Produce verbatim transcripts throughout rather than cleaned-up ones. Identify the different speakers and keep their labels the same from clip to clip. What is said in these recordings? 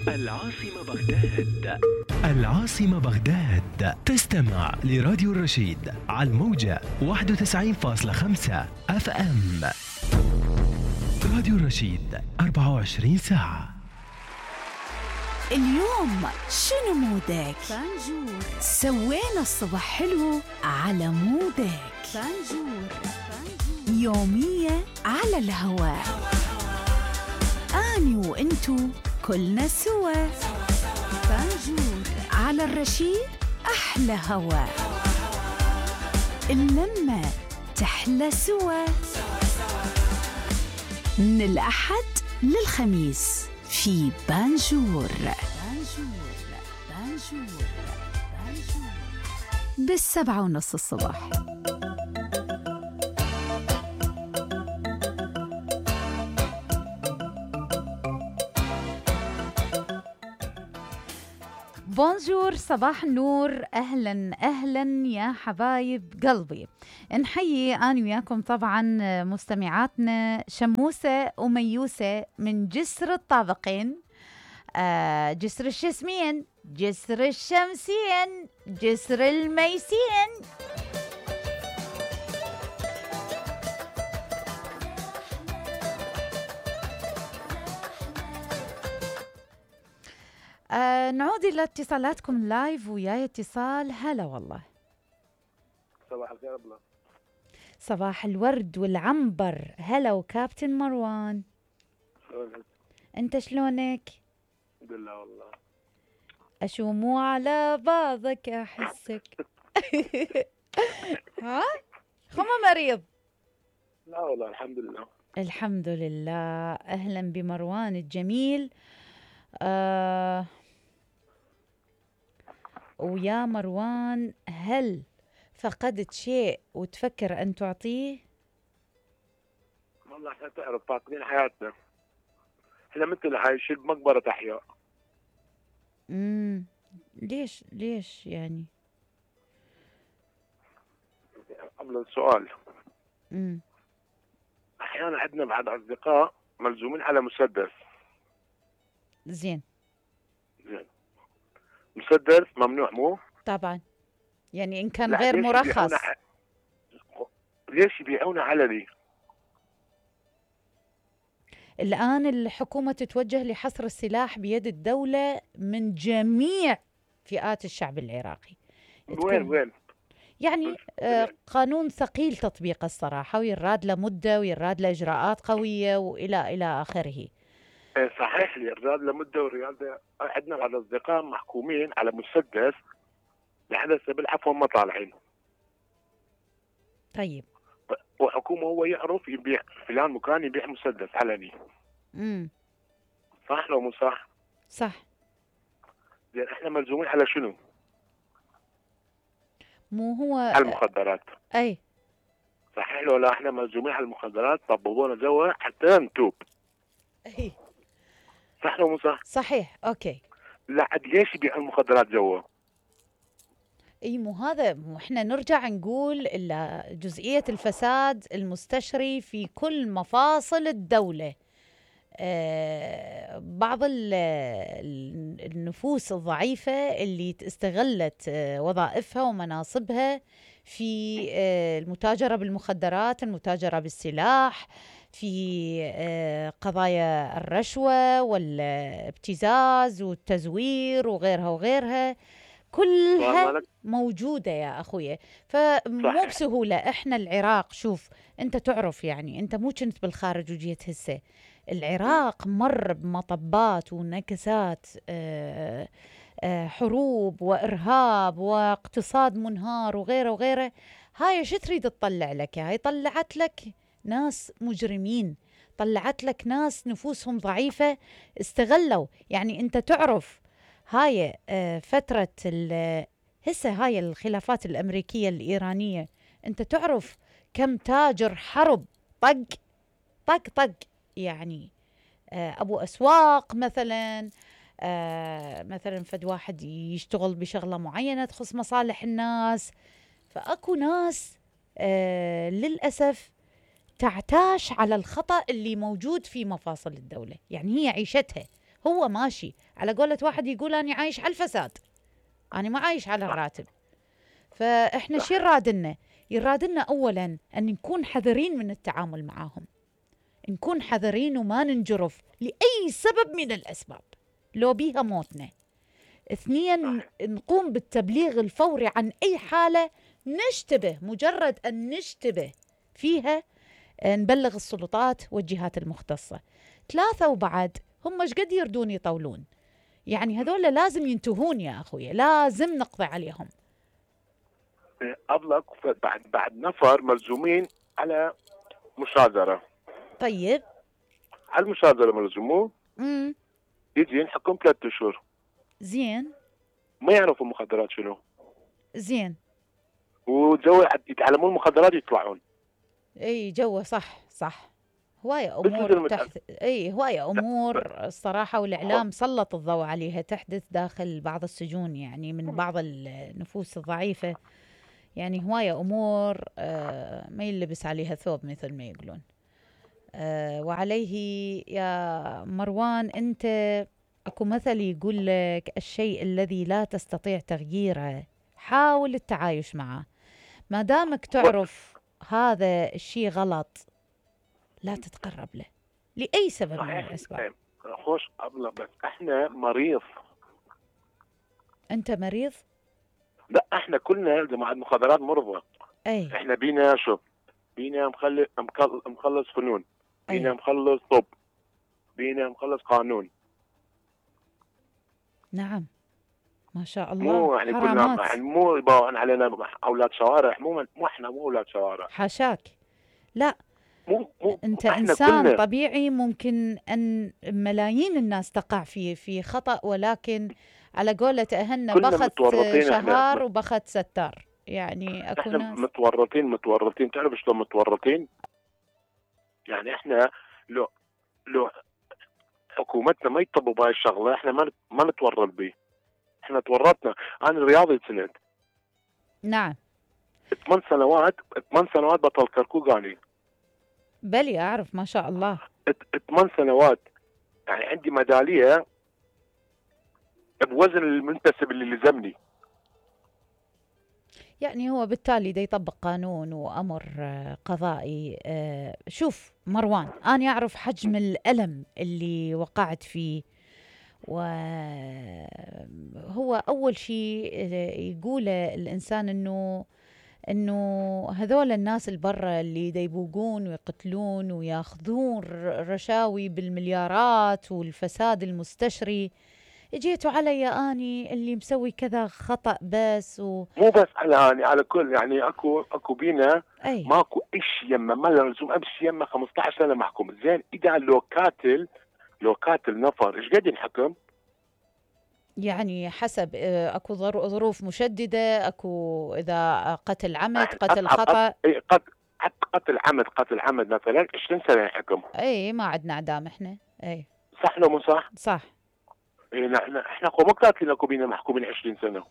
Speaker 1: العاصمة بغداد. العاصمة بغداد. تستمع لراديو الرشيد على الموجة واحد وتسعين فاصلة خمسة اف ام. راديو الرشيد أربعة وعشرين ساعة.
Speaker 2: اليوم شنو مودك؟
Speaker 3: فانجور.
Speaker 2: سوينا الصبح حلو على مودك.
Speaker 3: فانجور.
Speaker 2: يومية على الهواء. أني وإنتو كلنا سوا.
Speaker 3: فانجور
Speaker 2: على الرشيد أحلى هواء. اللمة تحلى سوا. من الأحد للخميس في بانجور.
Speaker 3: بانجور بانجور بانجور
Speaker 2: بالسبعة ونص الصبح. بونجور، صباح النور، أهلا أهلا يا حبايب قلبي. نحيي أنا وياكم طبعا مستمعاتنا شموسة وميوسة من جسر الطابقين، آه جسر الشسمين، جسر الشمسين، جسر الميسين. آه نعود إلى اتصالاتكم لايف. وياي اتصال. هلا والله.
Speaker 4: صباح الخير ابله.
Speaker 2: صباح الورد والعنبر. هلا وكابتن مروان.
Speaker 4: شلونك؟
Speaker 2: انت شلونك؟
Speaker 4: الحمد لله والله.
Speaker 2: اشومو على بعضك احسك. ها خما مريض؟
Speaker 4: لا والله الحمد لله.
Speaker 2: الحمد لله. اهلا بمروان الجميل. آه ويا مروان، هل فقدت شيء وتفكر أن تعطيه؟
Speaker 4: والله احنا تعرف فاقدين حياتنا، احنا مثل عايشين بمقبرة أحياء.
Speaker 2: امم ليش ليش يعني؟
Speaker 4: قبل السؤال،
Speaker 2: امم
Speaker 4: أحيانا عندنا بعض أصدقاء ملزومين على مسدس.
Speaker 2: زين.
Speaker 4: زين. مسدس ممنوع مو؟
Speaker 2: طبعا، يعني إن كان
Speaker 4: لا،
Speaker 2: غير
Speaker 4: ليش
Speaker 2: مرخص.
Speaker 4: يبيعونه ع- ليش يبيعونه علني؟
Speaker 2: الآن الحكومة تتوجه لحصر السلاح بيد الدولة من جميع فئات الشعب العراقي.
Speaker 4: وين وين؟
Speaker 2: يعني آه قانون ثقيل تطبيقه الصراحة، ويراد له مدة ويراد له إجراءات قوية وإلى إلى آخره.
Speaker 4: إيه صحيح لي الرياض لمدة والرياض عندنا بعض أصدقاء محكومين على مسدس لحد هسه بالعفو ما طالعين.
Speaker 2: طيب.
Speaker 4: وحكومة هو يعرف يبيع فلان مكان يبيع مسدس علني.
Speaker 2: امم
Speaker 4: صح لو مو صح؟
Speaker 2: صح.
Speaker 4: زين احنا ملزومين على شنو؟
Speaker 2: مو هو
Speaker 4: على المخدرات.
Speaker 2: اي
Speaker 4: صحيح لو لا احنا ملزومين على المخدرات، طببونا جوا حتى نتوب.
Speaker 2: اي
Speaker 4: صح لو مو صح؟
Speaker 2: صحيح. اوكي.
Speaker 4: لا عاد ليش يبيعوا المخدرات جوا؟
Speaker 2: اي مو هذا، مو احنا نرجع نقول إلا جزئية الفساد المستشري في كل مفاصل الدولة. آه بعض ال- ال- النفوس الضعيفة اللي استغلت آه وظائفها ومناصبها في آه المتاجرة بالمخدرات، المتاجرة بالسلاح، في آه قضايا الرشوة والابتزاز والتزوير وغيرها وغيرها، كلها
Speaker 4: والله لك-
Speaker 2: موجودة يا أخويا. فمو
Speaker 4: صحيح.
Speaker 2: بسهولة. إحنا العراق، شوف أنت تعرف، يعني أنت مو كنت بالخارج وجيت هسه. العراق مر بمطبات ونكسات، آه، آه، حروب وإرهاب واقتصاد منهار وغيره وغيره. هاي شو تريد تطلع لك؟ هاي طلعت لك ناس مجرمين، طلعت لك ناس نفوسهم ضعيفة استغلوا. يعني أنت تعرف هاي آه، فترة ال- هسه هاي الخلافات الأمريكية الإيرانية، أنت تعرف كم تاجر حرب طق طق طق. يعني آه، أبو أسواق مثلا، آه، مثلا فد واحد يشتغل بشغلة معينة تخص مصالح الناس. فأكو ناس آه، للأسف تعتاش على الخطأ اللي موجود في مفاصل الدولة. يعني هي عيشتها، هو ماشي على قولة واحد يقول أنا عايش على الفساد، أنا ما عايش على الراتب. فإحنا شو يرادلنا؟ يرادلنا أولا أن نكون حذرين من التعامل معهم، نكون حذرين وما ننجرف لأي سبب من الأسباب لو بيها موتنا. اثنين، نقوم بالتبليغ الفوري عن أي حالة نشتبه، مجرد أن نشتبه فيها نبلغ السلطات والجهات المختصة. ثلاثة، وبعد هم ايش قد يردون يطولون، يعني هذول لازم ينتهون يا أخوي، لازم نقضي عليهم.
Speaker 4: أبلغ بعد بعد نفر ملزومين على مشاجرة.
Speaker 2: طيب
Speaker 4: على المشاجرة ملزومون،
Speaker 2: امم
Speaker 4: يجي ينحكم ثلاثة أشهر.
Speaker 2: زين
Speaker 4: ما يعرفوا المخدرات شنو،
Speaker 2: زين
Speaker 4: وجو يتعلمون المخدرات يطلعون.
Speaker 2: اي جوه صح صح، هواية
Speaker 4: مثل
Speaker 2: امور
Speaker 4: المت-
Speaker 2: تحت، اي هواية امور الصراحة، والاعلام سلط الضوء عليها تحدث داخل بعض السجون، يعني من بعض النفوس الضعيفة، يعني هواية امور آه ما يلبس عليها ثوب مثل ما يقولون. آه وعليه يا مروان، انت اكو مثل يقول لك الشيء الذي لا تستطيع تغييره حاول التعايش معه. ما دامك تعرف هذا الشيء غلط لا تتقرب له لأي سبب من
Speaker 4: صحيح.
Speaker 2: الأسباب.
Speaker 4: خوش أبلغ، بس احنا مريض.
Speaker 2: أنت مريض؟
Speaker 4: لا، احنا كلنا جماعة المخدرات مرضى.
Speaker 2: أي
Speaker 4: احنا بينا شو، بينا مخلص مخلص فنون، بينا
Speaker 2: أي
Speaker 4: مخلص طب، بينا مخلص قانون.
Speaker 2: نعم ما شاء الله.
Speaker 4: مو يعني كلنا
Speaker 2: حرامات.
Speaker 4: يعني مو يباون علينا اولاد شوارع، مو مو احنا مو اولاد شوارع.
Speaker 2: حاشاك، لا
Speaker 4: مو مو
Speaker 2: أنت
Speaker 4: احنا
Speaker 2: إنسان
Speaker 4: كلنا.
Speaker 2: طبيعي، ممكن أن ملايين الناس تقع في في خطأ، ولكن على قولة أهلنا
Speaker 4: كلنا
Speaker 2: بخت
Speaker 4: متورطين
Speaker 2: شهار
Speaker 4: احنا.
Speaker 2: وبخت ستار، يعني أكو
Speaker 4: احنا
Speaker 2: ناس
Speaker 4: متورطين متورطين تعرف شلون متورطين؟ يعني احنا لو لو حكومتنا ما يطبوا بهاي الشغله احنا ما نت- ما نتورط به. احنا تورطنا. انا رياضي سنت
Speaker 2: نعم
Speaker 4: ثمان سنوات، ثمان سنوات بطل كركوك اني.
Speaker 2: بلي أعرف ما شاء الله.
Speaker 4: ث- ثمان سنوات يعني عندي ميداليه بوزن المنتسب اللي لزمني.
Speaker 2: يعني هو بالتالي دا يطبق قانون وأمر آه، قضائي. آه، شوف مروان، أنا أعرف حجم الألم اللي وقعت فيه، وهو أول شيء آه، يقوله الإنسان إنه إنه هذول الناس البرة اللي دا يبوقون ويقتلون وياخذون ر- رشاوي بالمليارات والفساد المستشري، اجيتوا علي اني اللي مسوي كذا خطأ بس و...
Speaker 4: مو بس على اني، على كل يعني اكو اكو بينا
Speaker 2: اي
Speaker 4: ماكو ايش يمه، ما لزوم امشي يمه خمسطعش سنه محكوم. زين اذا لو قاتل لو قاتل نفر ايش قد ينحكم؟
Speaker 2: يعني حسب آه، اكو ظر- ظروف مشددة، اكو اذا قتل عمد قتل
Speaker 4: أصعب-
Speaker 2: خطأ.
Speaker 4: أص- إيه، قتل قتل عمد قتل عمد مثلا عشرين سنه ينحكم.
Speaker 2: اي ما عندنا اعدام احنا. اي
Speaker 4: صح لو مو صح؟
Speaker 2: صح.
Speaker 4: إيه، نحن احنا اكو مو قاتلين اكو بينا محكومين عشرين سنه.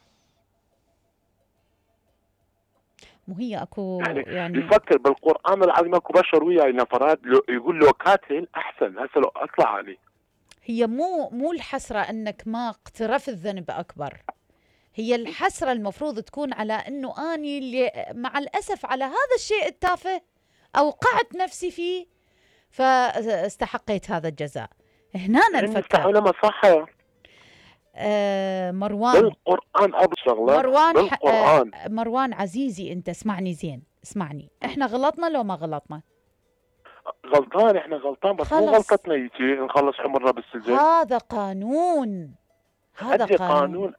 Speaker 2: مو هي اكو
Speaker 4: يعني,
Speaker 2: يعني
Speaker 4: يفكر بالقران العظيم اكو بشر وياي نفرات لو يقول له قاتل احسن هسه لو اطلع عليه.
Speaker 2: هي مو مو الحسرة انك ما اقترفت ذنب اكبر، هي الحسرة المفروض تكون على انه اني اللي مع الاسف على هذا الشيء التافه اوقعت نفسي فيه فاستحقيت هذا الجزاء. هنا نفكر.
Speaker 4: المستحيل ما صح.
Speaker 2: آه مروان
Speaker 4: بالقران ابو شغله
Speaker 2: مروان ح-
Speaker 4: بالقران.
Speaker 2: آه مروان عزيزي، انت اسمعني زين، اسمعني، احنا غلطنا لو ما غلطنا؟
Speaker 4: غلطان، احنا غلطان، بس مو
Speaker 2: خلص.
Speaker 4: غلطتنا يجي نخلص عمرنا بالسجن.
Speaker 2: هذا قانون، هذا
Speaker 4: هذا
Speaker 2: قانون.
Speaker 4: قانون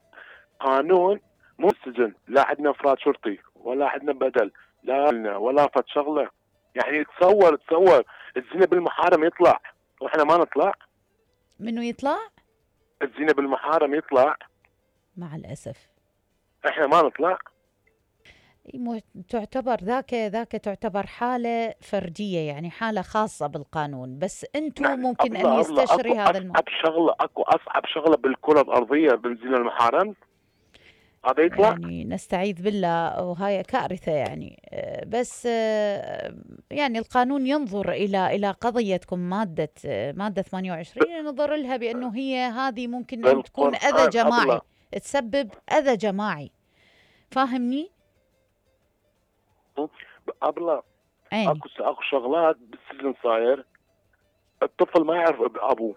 Speaker 4: قانون مو السجن. لا عندنا افراد شرطي ولا عندنا بدل، لا لنا ولا فت شغله. يعني تصور تصور الزنا بالمحارم يطلع واحنا ما نطلع.
Speaker 2: منو يطلع؟
Speaker 4: الزنا بالمحارم يطلع
Speaker 2: مع الاسف
Speaker 4: احنا ما نطلع.
Speaker 2: مو- تعتبر ذاك ذاك تعتبر حالة فردية، يعني حالة خاصة بالقانون، بس انتم
Speaker 4: نعم.
Speaker 2: ممكن
Speaker 4: أبلة-
Speaker 2: ان
Speaker 4: أبلة،
Speaker 2: يستشري
Speaker 4: أكو
Speaker 2: هذا الم...
Speaker 4: اصعب شغله، اكو اصعب شغله بالكره الارضيه بالزنا المحارم. هذا يطلع
Speaker 2: يعني نستعيذ بالله، وهاي كارثة يعني. آه، بس آه، يعني القانون ينظر إلى إلى قضيتكم مادة آه، مادة ثمانية وعشرين، ينظر لها بأنه هي هذه ممكن أن تكون أذى
Speaker 4: بالقرآن
Speaker 2: جماعي،
Speaker 4: أبلة
Speaker 2: تسبب أذى جماعي. فاهمني؟
Speaker 4: أبلة
Speaker 2: عيني.
Speaker 4: اكو اكو شغلات بالسجن صاير الطفل ما يعرف أب- ابوه.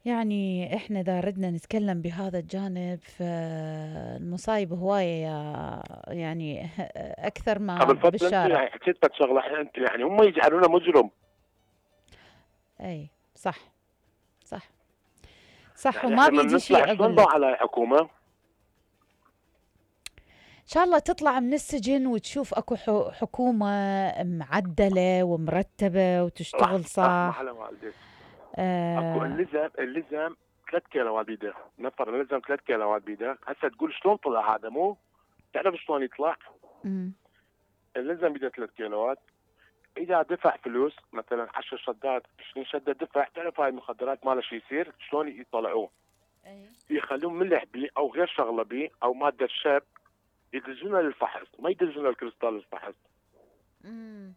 Speaker 2: يعني احنا اذا ردنا نتكلم بهذا الجانب، فالمصايب هواية يا يعني اكثر ما
Speaker 4: قبل فتره انت
Speaker 2: بالشارع.
Speaker 4: يعني حكيت لك شغله، انت يعني هم يجعلونه مجرم.
Speaker 2: اي صح صح صح.
Speaker 4: يعني
Speaker 2: وما
Speaker 4: احنا لما
Speaker 2: بيدي
Speaker 4: نطلع
Speaker 2: شيء
Speaker 4: شلون
Speaker 2: اقول
Speaker 4: نضوي
Speaker 2: لك.
Speaker 4: على الحكومه؟
Speaker 2: ان شاء الله تطلع من السجن وتشوف اكو حو- حكومة معدلة ومرتبة وتشتغل
Speaker 4: رحمه
Speaker 2: صح.
Speaker 4: على والديك. اكو
Speaker 2: آه.
Speaker 4: اللزم اللزم ثلاث كيلوات بيده، نفر اللزم ثلاث كيلوات بيده، هسه تقول شلون طلع هذا؟ مو تعرف شلون يطلع؟
Speaker 2: أمم.
Speaker 4: اللزم بيده ثلاث كيلوات، اذا دفع فلوس مثلا عشر شدات عشرين شده دفع، تعرف هاي المخدرات ما له شيء يصير شلون يطلعوه؟ يخلون ملح بيه او غير شغله بيه او ماده شاب، يدزونه للفحص، ما يدزونه الكريستال للفحص.
Speaker 2: أمم.